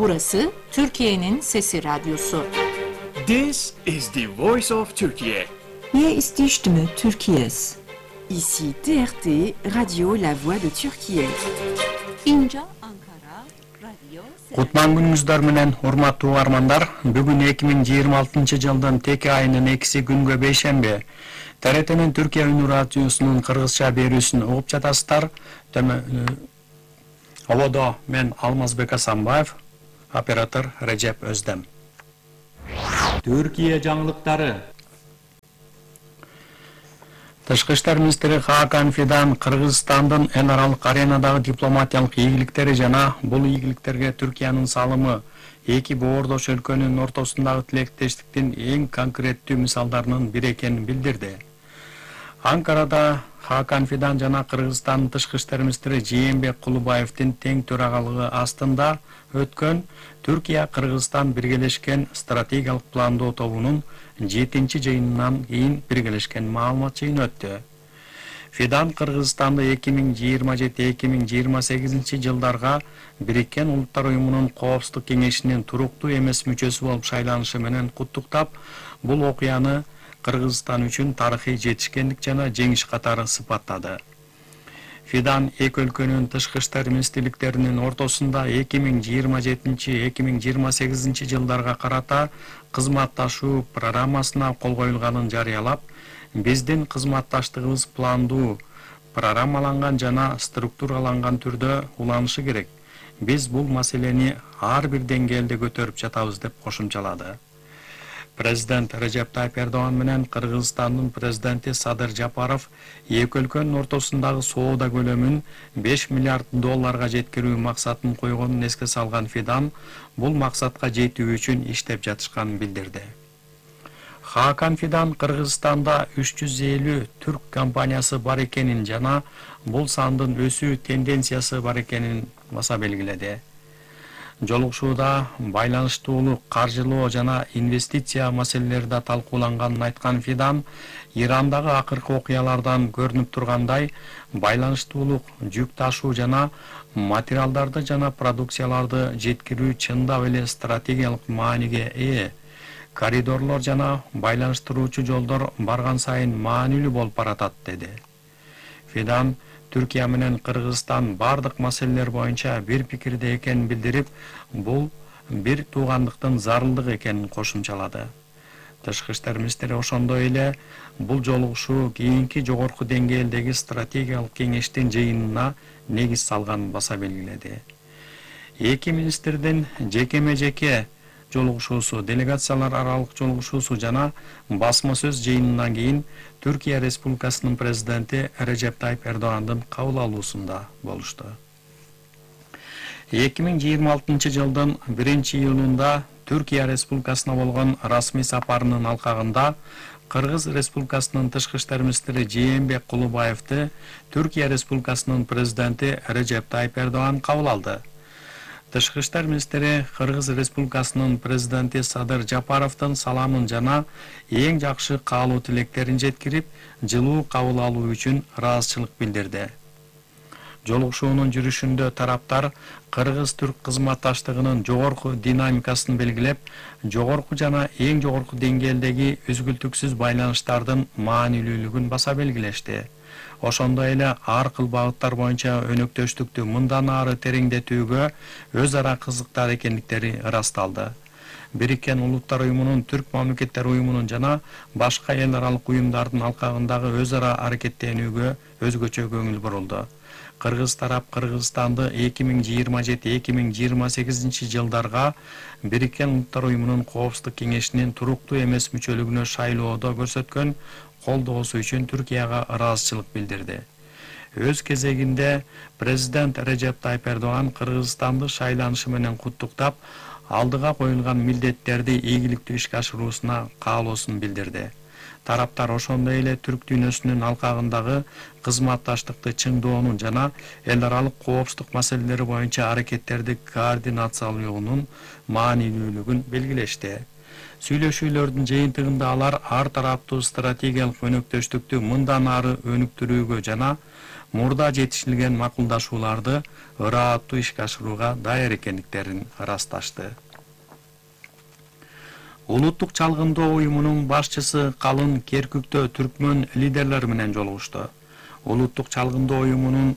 Burası Türkiye'nin Sesi Radyosu. This is the voice of Turkey. Hier ist die Stimme Türkiye's. Ici TRT, Radio La Voix de Türkiye. İnca Ankara, Radyo Kutman günüңүздөр менен урматтуу угармандар. Бүгүн 2026 жылдын теке айынын 2 күнгө бейшемби. TRT'нин Türkiye Ünlü Radyosu'nun Kırgızça berүүsүн угуп жатасыздар. Ободо мен Алмазбек Асанбаев, оператор Режеп Өздем. Türkiye жаңылыктары. Тышкы иштер министри Хакан Фидан Кыргызстандын эл аралык аренадагы дипломатиялык ийгиликтери жана бул ийгиликтерге Түркиянын салымы эки боордош өлкөнүн ортосундагы тилектештиктин эң конкреттүү мисалдарынын бири экенин билдирди. Анкарада Хакан Фидан жана Кыргызстандын тышкы иштер министри Жээнбек Кулубаевдин тең төрагалыгы астында өткөн Түркия-Кыргызстан биргелешкен стратегиялык пландоо тобунун 7-чи жыйынынан кийин биргелешкен маалымат жыйыны өттү. Фидан Кыргызстанды 2027-2028 жылдарга Бириккен Улуттар Уюмунун Коопсуздук кеңешинин туруктуу эмес мүчөсү болуп шайланышы менен куттуктап, бул окуяны Кыргызстан үчүн тарыхый жетишкендик жана жеңиш катары сыпаттады. Фидан эки өлкөнүн тышкы иштер министрликтеринин ортосунда 2027-2028 жылдарга карата кызматташуу программасына кол коюлганын жарыялап, биздин кызматташтыгыбыз пландуу, программаланган жана структураланган түрдө уланышы керек. Биз бул маселени ар бир деңгээлде көтөрүп жатабыз деп кошумчалады. Президент Режеп Тайып Эрдоган менен Кыргызстандын президенти Садыр Жапаров эки өлкөнүн ортосундагы соода көлөмүн 5 миллиард долларга жеткирүү максатын койгонун эске салган Фидан бул максатка жетүү үчүн иштеп жатышканын билдирди. Хакан Фидан Кыргызстанда 350 түрк компаниясы бар экенин жана бул сандын өсүү тенденциясы бар экенин баса белгиледи. Жолугушууда байланыштуулук, каржылоо жана инвестиция маселелери да талкууланганын айткан Фидан, Ирандагы акыркы окуялардан көрүнүп тургандай, байланыштуулук, жүк ташуу жана материалдарды жана продукцияларды жеткирүү чындап эле стратегиялык мааниге ээ. Коридорлор жана байланыштыруучу жолдор барган сайын маанилүү болуп баратат, деди. Фидан Түркия менен Кыргызстан бардык маселелер боюнча бир пикирде экенин билдирип, бул бир туугандыктын зарылдыгы экенин кошумчалады. Тышкы иштер министри ошондой эле бул жолугушуу кийинки жогорку деңгээлдеги стратегиялык кеңештин жыйынына негиз салганын баса белгиледи. Эки министрдин жекеме-жеке жолугушуусу, делегациялар аралык жолугушуусу жана басма сөз жыйынынан кийин Түркия Республикасынын президенти Режеп Тайып Эрдогандын кабыл алуусунда болушту. 2026 жылдын 1-июлунда Түркия Республикасына болгон расмий сапарынын алкагында Кыргыз Республикасынын тышкы иштер министри Жээнбек Кулубаевди Түркия Республикасынын президенти Режеп Тайып Эрдоган кабыл алды. Тышкы иштер министри Кыргыз Республикасынын президенти Садыр Жапаровдун саламын жана эң жакшы каалоо тилектерин жеткирип, жылуу кабыл алуу үчүн ыраазычылык билдирди. Жолугушуунун жүрүшүндө тараптар Кыргыз-Түрк кызматташтыгынын жогорку динамикасын белгилеп, жогорку жана эң жогорку деңгээлдеги үзгүлтүксүз байланыштардын маанилүүлүгүн баса белгилешти. Ошондой эле ар кыл багыттар боюнча өнөктөштүктү мындан ары тереңдетүүгө өз ара кызыктар экендиктери ырасталды. Бириккен Улуттар Уюмунун, Түрк мамлекеттер уюмунун жана башка эл аралык уюмдардын алкагындагы өз ара аракеттенүүгө өзгөчө көңүл бурулду. Кыргыз тарап Кыргызстанды 2027-2028 жылдарга Бириккен Улуттар Уюмунун Коопсуздук кеңешинин туруктуу эмес мүчөлүгүнө шайлоодо көрсөткөн колдоосу үчүн Түркияга ыраазычылык билдирди. Өз кезегинде президент Режеп Тайып Эрдоган Кыргызстанды шайланышы менен куттуктап, алдыга коюлган милдеттерди ийгиликтүү ишке ашыруусуна каалоосун билдирди. Тараптар ошондой эле түрк дүйнөсүнүн алкагындагы кызматташтыкты чыңдоонун жана эл аралык коопсуздук маселелери боюнча аракеттерди координациялоонун маанилүүлүгүн белгилешти. Сүйлөшүүлөрдүн жыйынтыгында алар ар тараптуу стратегиялык өнөктөштүктү мындан ары өнүктүрүүгө жана мурда жетишилген макулдашууларды ырааттуу ишке ашырууга даяр экендиктерин ырасташты. Улуттук чалгындоо уюмунун башчысы Калын Керкүктө түркмөн лидерлери менен жолугушту. Улуттук чалгындоо уюмунун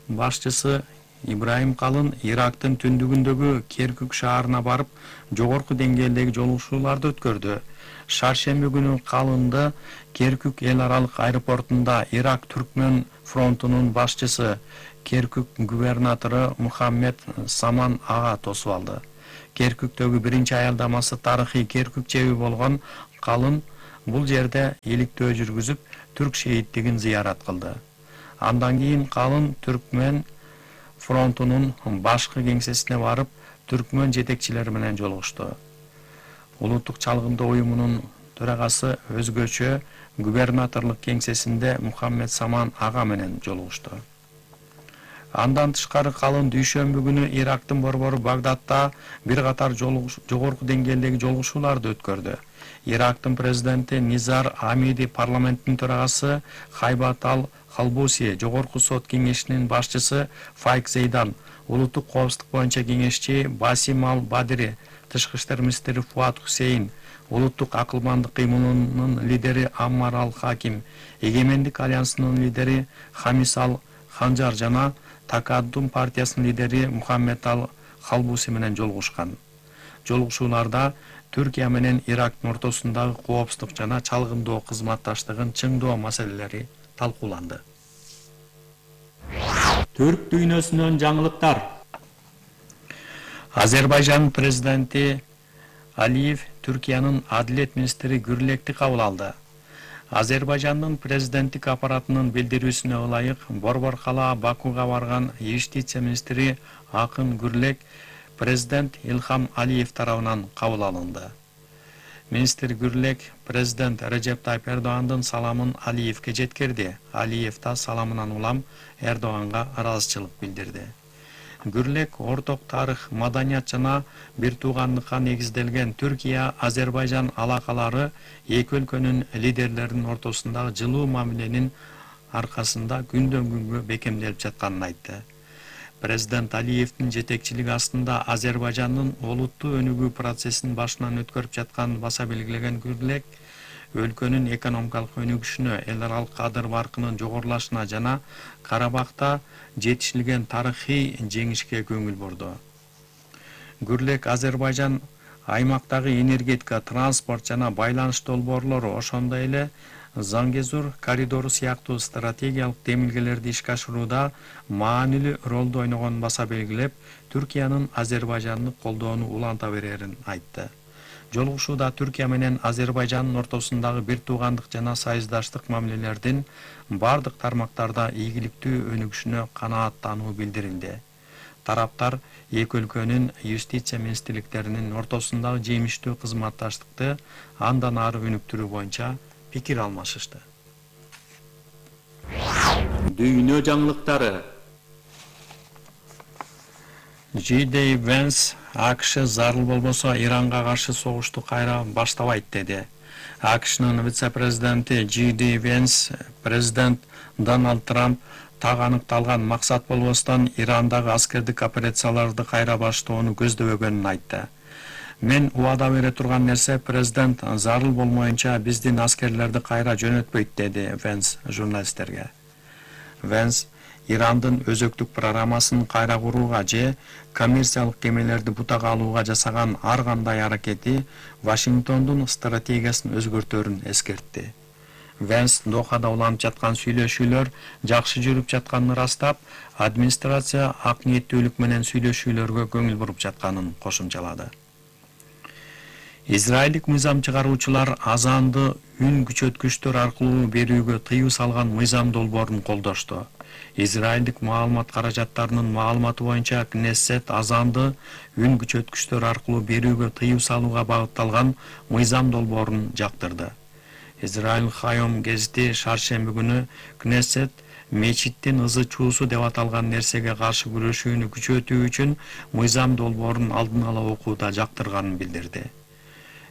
башчысы Ибраим Калын Ирактын түндүгүндөгү Керкүк шаарына барып, жогорку деңгээлдеги жолугушууларды өткөрдү. Шаршемби күнү Калынды Керкүк эл аралык аэропортунда Ирак түркмөн фронтунун башчысы, Керкүк губернатору Мухаммед Саман ага тосуп алды. Керкүктөгү биринчи аялдамасы тарыхый Керкүк чеби болгон Калын бул жерде иликтөө жүргүзүп, түрк шейиттигин зыярат кылды. Андан кийин Калын түркмөн фронтунун башкы кеңсесине барып, түркмөн жетекчилери менен жолугушту. Улуттук чалгындоо уюмунун төрагасы өзгөчө губернаторлук кеңсесинде Мухаммед Саман ага менен жолугушту. Андан тышкары Калын дүйшөмбү күнү Ирактын борбору Багдадта бир катар жогорку деңгээлдеги жолугушууларды өткөрдү. Ирактын президенти Низар Амиди, парламенттин төрагасы Хайбат Ал-Халбуси, жогорку сот кеңешинин башчысы Файк Зейдан, улуттук коопсуздук боюнча кеңешчи Басим Ал-Бадири, тышкы иштер министри Фуат Хусейн, улуттук акылмандык кыймылынын лидери Аммар Ал-Хаким, Эгемендик альянсынын лидери Хамис Ал-Ханжар жана Такаддум партиясынын лидери Мухаммед Ал-Халбуси менен жолугушкан. Жолугушууларда Түркия менен Ирактын ортосундагы коопсуздук жана чалгындоо кызматташтыгын чыңдоо маселелери талкууланды. Түрк дүйнөсүнөн жаңылыктар. Азербайжан президенти Алиев Түркиянын адилет министри Гүрлекти кабыл алды. Азербайжандын президенттик аппаратынын билдирүүсүнө ылайык, борбор кала Бакуга барган юстиция министри Акын Гүрлек президент Илхам Алиев тарабынан кабыл алынды. Министр Гүрлек президент Режеп Тайып Эрдогандын саламын Алиевке жеткирди. Алиев да саламынан улам Эрдоганга ыраазычылык билдирди. Гүрлек орток тарых, маданият жана бир туугандыкка негизделген Түркия-Азербайжан алакалары эки өлкөнүн лидерлеринин ортосундагы жылуу мамиленин аркасында күндөн күнгө бекемделип жатканын айтты. Президент Алиевдин жетекчилиги астында Азербайжандын олуттуу өнүгүү процессин башынан өткөрүп жатканын баса белгилеген Гүрлек, өлкөнүн экономикалык өнүгүшүнө, эл аралык кадыр-баркынын жогорулашына жана Карабакта жетишилген тарыхый жеңишке көңүл бурду. Гүрлек Азербайжан аймактагы энергетика, транспорт жана байланыш долбоорлору, ошондой эле Зангезур коридору сыяктуу стратегиялык демилгелерди ишке ашырууда маанилүү ролду ойногонун баса белгилеп, Түркиянын Азербайжанды колдоону уланта берерин айтты. Жолугушууда Түркия менен Азербайжандын ортосундагы бир туугандык жана союздаштык мамилелердин бардык тармактарда ийгиликтүү өнүгүшүнө канааттануу билдирилди. Тараптар эки өлкөнүн юстиция министрликтеринин ортосундагы жемиштүү кызматташтыкты андан ары өнүктүрүү боюнча пикир алмашышты. Дүйнө жаңылыктары. J.D. Vance АКШ зарыл болбосо Иранга каршы согушту кайра баштабайт деди. АКШнын вице-президенти J.D. Vance президент Дональд Трамп так аныкталган максат болбостон Ирандагы аскердик операцияларды кайра баштоону көздөбөгөнүн айтты. Мен убада бере турган нерсе, президент зарыл болмоюнча биздин аскерлерди кайра жөнөтпөйт, деди Венс журналисттерге. Венс Ирандын өзөктүк программасын кайра курууга же коммерциялык кемелерди бутага алууга жасаган ар кандай аракети Вашингтондун стратегиясын өзгөртөрүн эскертти. Венс Дохада уланып жаткан сүйлөшүүлөр жакшы жүрүп жатканын ырастап, администрация ак ниеттүүлүк менен сүйлөшүүлөргө көңүл буруп жатканын кошумчалады. Израилдик мыйзам чыгаруучулар азанды үн күчөткүчтөр аркылуу берүүгө тыюу салган мыйзам долбоорун колдошту. Израилдик маалымат каражаттарынын маалыматы боюнча Кнессет азанды үн күчөткүчтөр аркылуу берүүгө тыюу салууга багытталган мыйзам долбоорун жактырды. Израиль Хайом гезити шаршемби күнү Кнессет мечиттин ызы чуусу деп аталган нерсеге каршы күрөшүүнү күчөтүү үчүн мыйзам долбоорун алдын ала окууда жактырганын билдирди.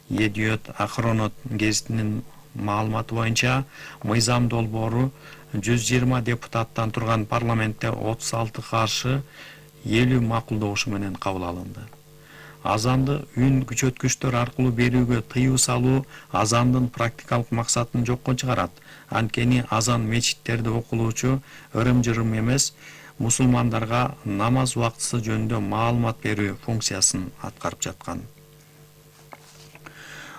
Едиот Ахронот гезитинин маалыматы боюнча мыйзам долбоору 120 депутаттан турган парламентте 36 каршы 50 макулдоушу менен кабыл алынды. Азанды үн күчөткүчтөр аркылуу берүүгө тыюу салуу азандын практикалык максатын жокко чыгарат. Анткени азан мечиттерде окулуучу ырым-жырым эмес, мусулмандарга намаз убактысы жөнүндө маалымат берүү функциясын аткарып жаткан.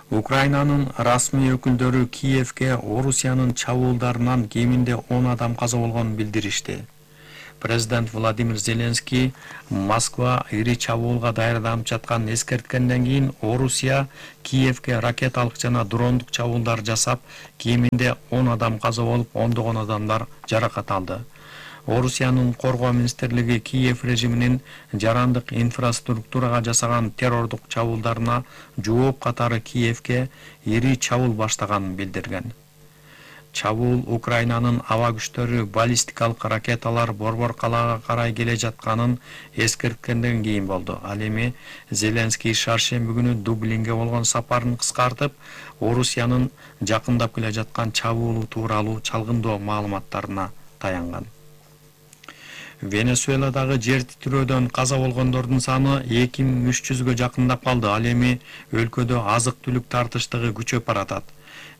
Украинанын расмий өкүлдөрү Киевге Орусиянын чабуулдарынан кеминде 10 адам каза болгонун билдиришти. Президент Владимир Зеленский Москва ири чабуулга даярданып жатканын эскерткенден кийин Орусия Киевге ракеталык жана дрондук чабуулдар жасап, кеминде 10 адам каза болуп, ондогон адамдар жаракат алды. Орусиянын коргоо министрлиги Киев режиминин жарандык инфраструктурага жасаган террордук чабуулдарына жооп катары Киевге ири чабуул баштаганын билдирген. Чабуул Украинанын аба күчтөрү баллистикалык ракеталар Борбор калаага карай келе жатканын эскерткенден кийин болду. Ал эми Зеленский шаршемби күнү Дублинге болгон сапарын кыскартып, Орусиянын жакындап келе жаткан чабуулу тууралуу чалгындоо маалыматтарына таянган. Венесуэладагы жер титирөөдөн каза болгондордун саны 2300гө жакындап калды. Ал эми өлкөдө азык-түлүк тартыштыгы күчөп баратат.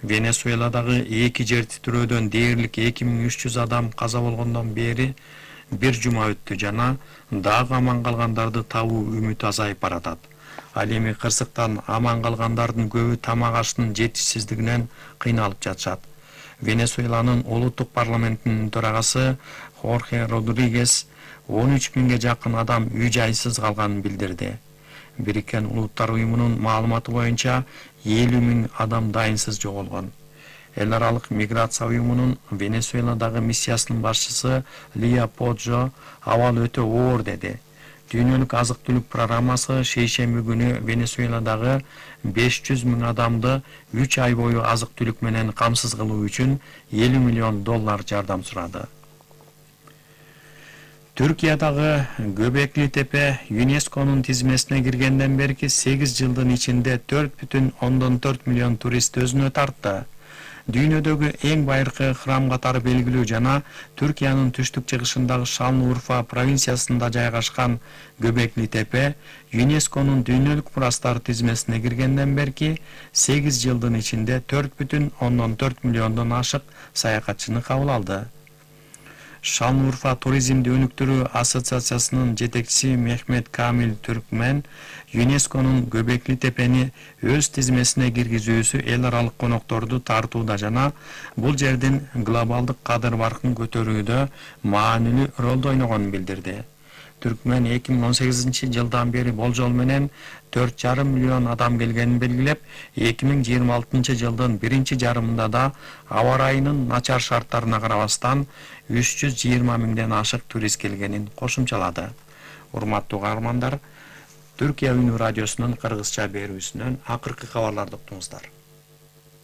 Венесуэладагы 2 жер титирөөдөн дээрлик 2300 адам каза болгондон бери бир жума өттү жана дагы аман калгандарды табуу үмүтү азайып баратат. Ал эми кырсыктан аман калгандардын көбү тамак аштын жетишсиздигинен кыйналып жатышат. Венесуэланын улуттук парламентинин төрагасы Хорхе Родригес 13 миңге жакын адам үй-жайсыз калганын билдирди. Бириккен Улуттар уюмунун маалыматы боюнча 50 миң адам дайынсыз жоголгон. Эл аралык миграция уюмунун Венесуэладагы миссиясынын башчысы Лия Поджо абал өтө оор деди. Дүйнөлүк азык-түлүк программасы шейшемби күнү Венесуэладагы 500 миң адамды 3 ай бою азык-түлүк менен камсыз кылуу үчүн $50 миллион жардам сурады. Түркиядагы Göbekli Tepe ЮНЕСКОнун тизмесине киргенден берки 8 жылдын ичинде 4,4 миллион турист өзүнө тартты. Дүйнөдөгү эң байыркы храм катары белгилүү жана Түркиянын түштүк чыгышындагы Шанлыурфа провинциясында жайгашкан Göbekli Tepe ЮНЕСКОнун дүйнөлүк мурастар тизмесине киргенден берки 8 жылдын ичинде 4,4 миллиондон ашык саякатчыны кабыл алды. Шанлыурфа туризмди өнүктүрүү ассоциациясынын жетекчиси Мехмет Камил Түркмен ЮНЕСКОнун Göbekli Tepe'ни өз тизмесине киргизүүсү эл аралык конокторду тартууда жана бул жердин глобалдык кадыр баркын көтөрүүдө маанилүү ролду ойногонун билдирди. Түркмен 2018 жылдан бери болжол менен 4,5 миллион адам келгенин белгилеп, 2026 жылдын биринчи жарымында да аба ырайынын начар шарттарына карабастан 320 миңден ашык турист келгенин кошумчалады. Урматтуу каармандар, Түркия Үнү радиосунун кыргызча берүүсүнөн акыркы кабарларды уктуңуздар.